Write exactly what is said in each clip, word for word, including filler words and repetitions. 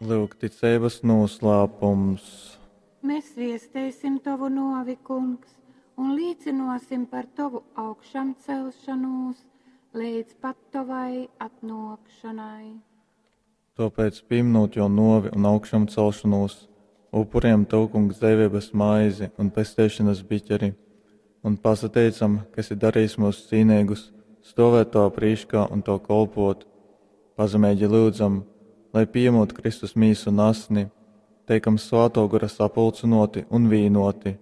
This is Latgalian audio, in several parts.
Lyuk ticeibas noslēpums. Mēs viesteisim tovu novi, Kungs, un līcinosim par tovu augšamcelšanūs leidz pat tovai atnōkšanai. Tāpēc, pieminot jo novi un augšamcelšanos, upuriem tev, Kungs, dzeiveibas maizi un pesteišanas biķeri, un pasateicam, ka esi darījis mūs cīnīgus, stovēt tavā prīškā un tev kolpot. Pazemeigi lūdzam, lai pieņemot Kristus mīsu un asni, teikam Svāto Gora sapulcinoti un vīnoti.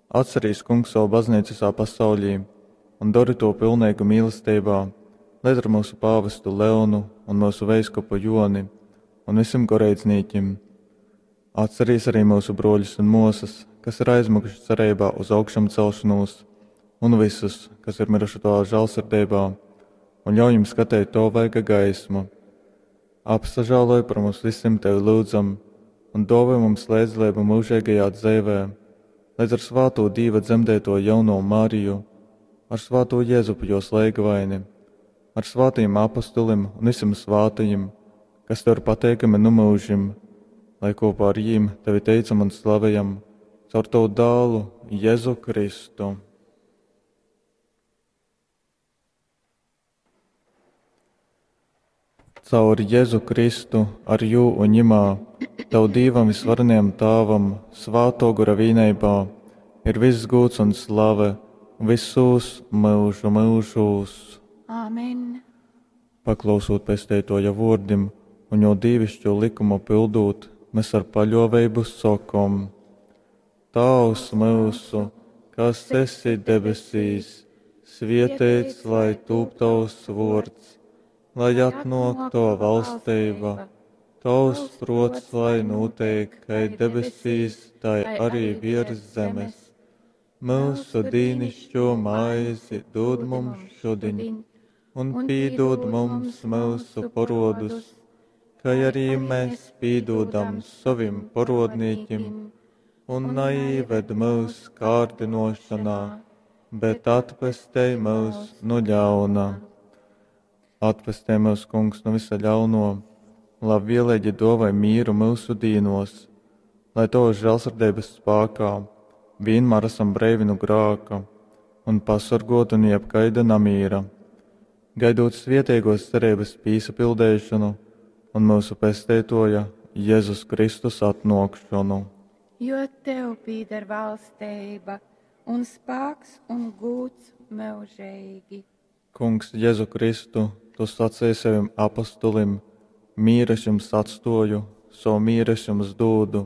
Atcerīs, Kungs, savu baznīcu visā pasaulī un dari to pilnīgu mīlestībā, lai ar mūsu pāvestu Leonu un mūsu veiskupu Joni un visiem goreidznīkim. Atcerīs arī mūsu broļus un mosas, kas ir aizmukuši cerībā uz augšamcelšanos, un visus, kas ir miruši tavā žēlsirdībā, un ļauj viņiem skatīt to vaiga gaismu. Apsažāloj par mums visiem tevi lūdzam, un dāvā mums līdzdalību mūžīgajā dzīvē, līdz ar svāto Dīva dzemdēto jauno Mariju, ar svāto Jēzupu jos leigavaini, ar svātajiem apustulim un visiem svātajiem, kas tev ir pateikami nu mūžim, lai kopā ar jīm tevi teicam un slavējam caur tavu dālu Jēzu Kristu. Caur Jēzu Kristu, ar jū un ņimā, tev Dīvam visvarenajam Tāvam, svāto gora vīneibā, ir viss gūts un slave visos mūžu mūžos. Āmen. Paklausot pesteitoja vordim un jo dīvišķo likumu pildūt, mēs ar paļoveibu sokom: Tavs mūsu, kas esi debesīs, svietēts, lai tūp tavs vords, lai atnāk tava valstība, tavs prots, lai notiek, kai debesīs, tai arī virs zemes. Mūsu dīnišķo maizi dod mums šodien, un pīdod mums mūsu porodus, kai arī mēs pīdodam savim porodnīkim, un neīved mūs kārdinošanā, bet atpestej mūs no ļauna. Atpestē mūs, Kungs, no visa ļauno, labvēlīgi dovai mīru mūsu dīnos, lai tavas žēlsirdības spēkā vienmēr esam breivi no grāka un pasargoti no jebkaida namīra, gaidot svietīgos cerības pīsapildēšanu un mūsu pesteitoja Jēzus Kristus atnākšanu. Jo tev pīder valstība un spēks un gūts mūžīgi. Kungs, Jēzu Kristu, tu sacīji saviem apustulim: mīru es jums atstoju, savu mīru es jums dūdu.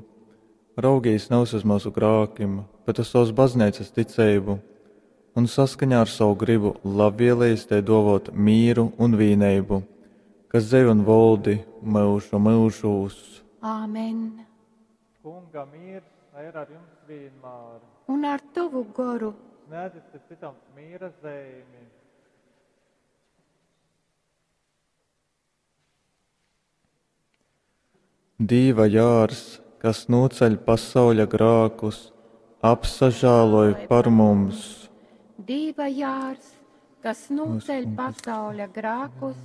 Raugīs nevis uz mūsu grākim, bet uz savas baznīcas ticību, un saskaņā ar savu gribu labvēlījis te dovot mīru un vīneibu, kas dzīvo un valdi mūžu mūžūs. Āmen. Kunga miers lai ir ar jums vienmēr. Un ar tavu goru. Sniedziet citam mīra zīmi. Dīva jārs, kas noceļ pasauļa grākus, apsažāloj par mums. Dīva jārs, kas noceļ pasauļa grākus,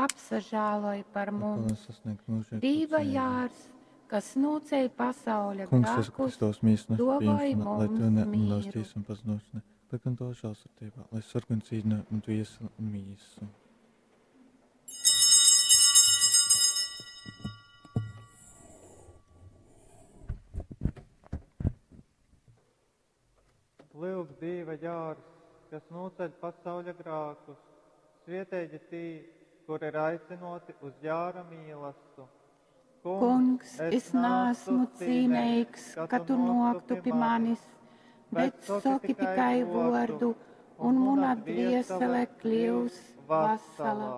apsažāloj par mums. Dīva jārs, kas noceļ pasauļa Kungs, Jēzu grākus, Kristus, mīsna, dovai pieņemšana, lai mums tev mieru. neuztīs un paznošana, bet gan to žēlsirdībā, lai sarg un cīdina un dvieseli un mīsu. Lūk, Dieva jārs, kas noceļ pasauļa grākus, svietēji tī, kur ir aicinoti uz jāra mīlastu. Kungs, es neesmu cīnīgs, ka tu noktu pie manis, bet saki tikai vārdu, un mana dviesele kļūs vesela.